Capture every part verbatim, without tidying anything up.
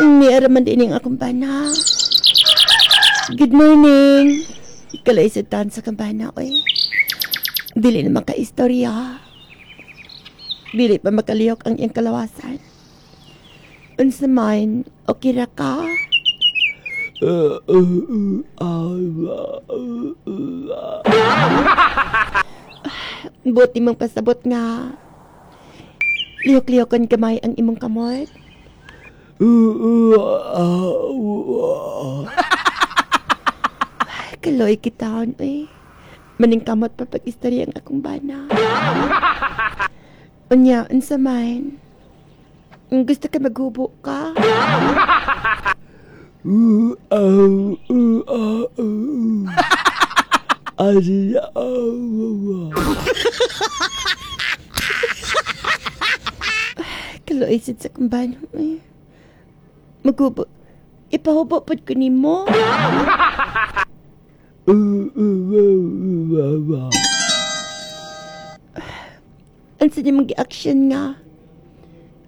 Niara man din ang akong bana. Good morning. Kalay sa tan sa kambana, oy. Dili na makaistorya. Dili pa makalihok ang iyang kalawasan. Unsa man, okay ra ka? Buti mong pasabot nga. Lihok-lihokon kamay ang imong kamot. Kaloy kitaon, oy. Maning kamot pa pag-istorya ang akong bana. Unya, unsa man? Gusto ka maghubo ka? Kaloy sad sa akong bana, oy. Maghubo. Ipahubo pod ko nimo. Ang sa niyang gi-action nga.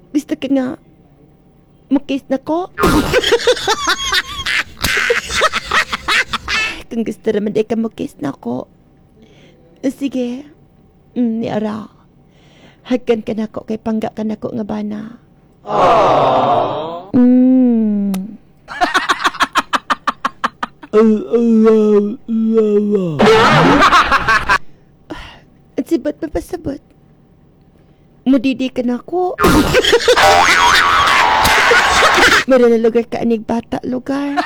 Gusto ka nga mukis na ko? Kung gusto naman di ka mukis na ko. Sige. Mm, ni ara. Hagkan ka na ko kay pangga ka na ko nga bana. Aww. Mm. At sibat mapasabot. Mudidi ka na ko. Meron na lugar ka anig bata lugar.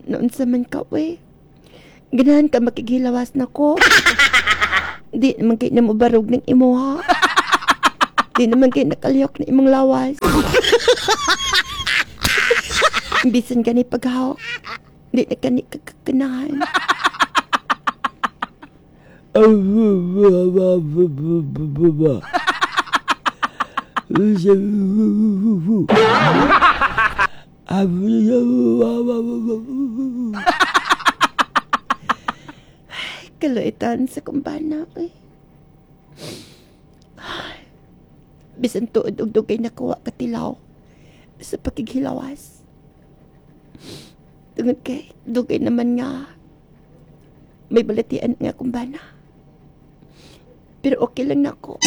Noon sa man ka, we. Ganahan ka makigilawas na ko. Di naman kayo na mubarog ng imuha. Di naman kayo nakalihok na imong lawas. Bisan ka ni paghawak. Di na ka ni kakakanahan. Kaloitan sa kumbana, eh. Bisan tuod og dugay nakuha katilaw sa pakighilawas. Tungod kay dugay naman nga may balatian nga kumbana. Pero okay lang nako.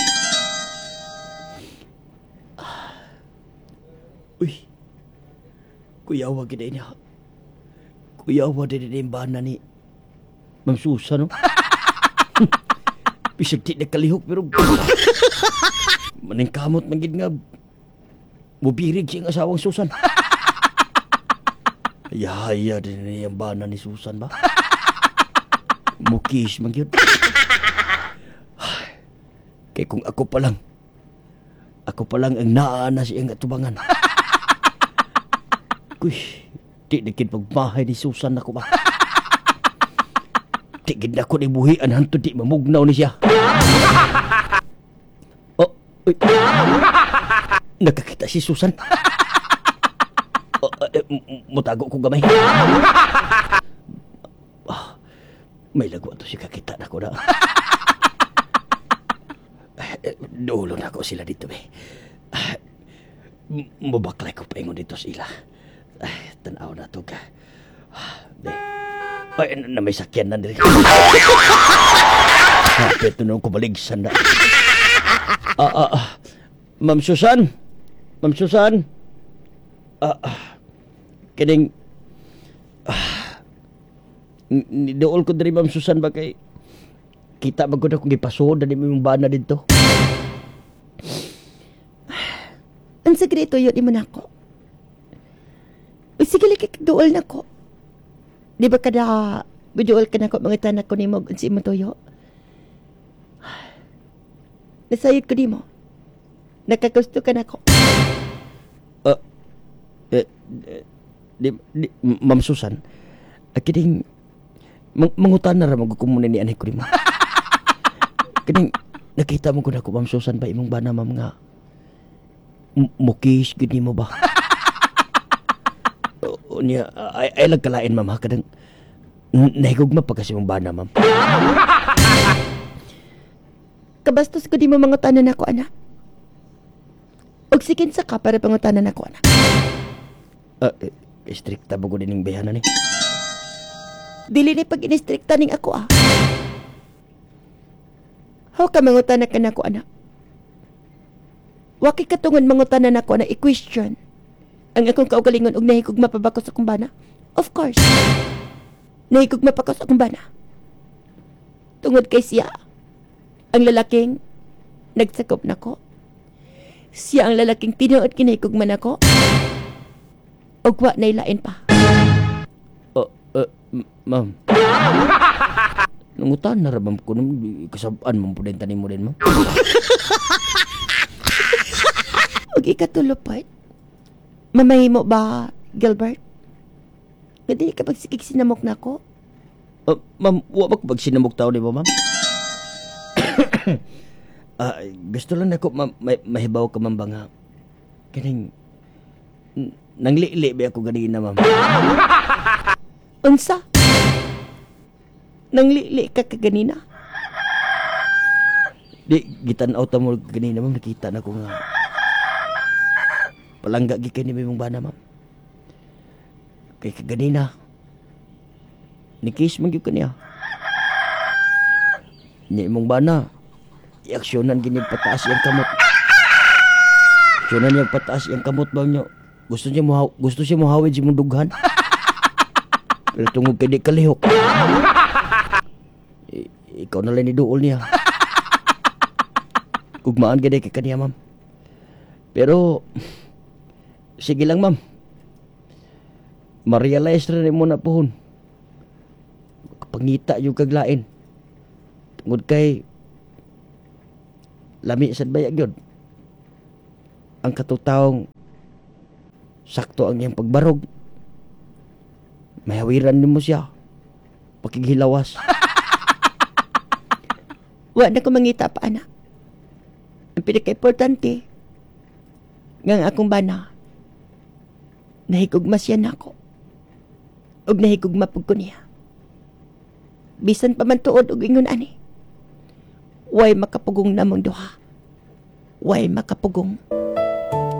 Uy. Kuyawa gid niya. Kuyawa din din bana ni Ma'am Susan, no? Bisag di nakalihok pero maning kamot man gid nga mubirig siyang asawang Susan. Yaya din ni ang bana ni Susan ba? Mukis man gyud. Kay kung ako pa lang, ako pa lang ang naa na siyang atubangan. Kuy, di na gid pagbahay ni Susan ako ba? Di gid na ko ni buhian hantod di mamugnaw ni siya. Oh, uy. Nakakita si Susan. Oh, eh, mutago ko gamay. Ah, may lagwa to si kakita na ko na. Eh, dulo na ko sila dito eh. Ah, mubaklay ko paingon dito sila. Ay, tanaw na to ka. Ah, di. Ay, na may sakyan na diri. Kapit na nung kubaligsan na. Ah, ah, ah. Ma'am Susan. Ma'am Susan. Ah, ah. Kining ah, nidool ko diri Ma'am Susan ba kay kita ba ko na kung gipasuod na ni mong bana dito. Ang sekreto yun imo nako. Sige lagi duol nako. Di ba kada buduol ka nako mga tanak ko nimo unsa imong tuyo? Nasayod ko nimo. Nakagusto ka nako. Uh, eh, eh, di, di, Ma'am Susan, kining mang, mangutan na ra magkukumuna ni anay ko nimo. Kining nakita mo ko nako Ma'am Susan ba imong bana ma'am nga mukis gid nimo ba? O, niya ay, ay lang kalain ma'am ha kadang nahigugma pa kasi mong bana ma'am. Kabastos ko di mo mangutanan ako, anak. Og sige sa ka para pangutanan ako, anak. Ah, eh, istrikta ba ko din yung bayhanan ni? Dili ni pag inistrikta ning ako, ah. How ka mangutana ka nako, anak? Wa kay katungod mangutana nako na i-question ang akong kaugalingon og nahigugma pa ba ko sa akong bana? Of course. Nahigugma pa ko sa akong bana. Tungod kay siya, ang lalaking nagsakop nako. Siya ang lalaking tinuod kinahigugma nako. Og wa nay lain pa. Uh, uh, ma'am. Nangutan na ra ma'am ko nung kasabaan mo po din tanim mo din, ma'am. Og ikatulo part, mamahimo ba, Gilbert? Nga dili ka pagsikig sinamok nako? Uh, ma'am, wa ba ko pagsinamok tao di ba, ma'am? Ah, gusto lang nako ma'am, may, mahibaw ka ma'am ba nga. Kaning nanglili ba ako ganina, ma'am? Unsa? Nanglili ka kaganina? Di gitan-aw ta mo ganina, ma'am, nakita na ko nga. Palangga gi kay ni mong bana, ma'am. Kay kaganina. Ni kiss man gyud kaniya. Nya imong bana. I-aksyonan gini pataas iyang kamot. Aksyonan niya pataas iyang kamot ba niyo. Gusto niya mo gusto siya mohawid si imong dughan. Pero tungod kay di kalihok. I, ikaw na lang ni duol niya. Gugmaan gani kay kaniya, ma'am. Pero sige lang, ma'am. Ma-realize rin mo na pohon. Pangita yung kaglain. Tungod kay lami sad baya gyud. Ang katutawong sakto ang iyang pagbarog. Mahawiran nimo siya. Pakighilawas. Wa na ko mangita pa, anak. Ang pinaka-importante, nga ang akong bana, nahigugma siya nako. Ug nahigugma pug ko niya. Bisan pa man tuod og ingon ani. Way makapugong namong duha. Way makapugong.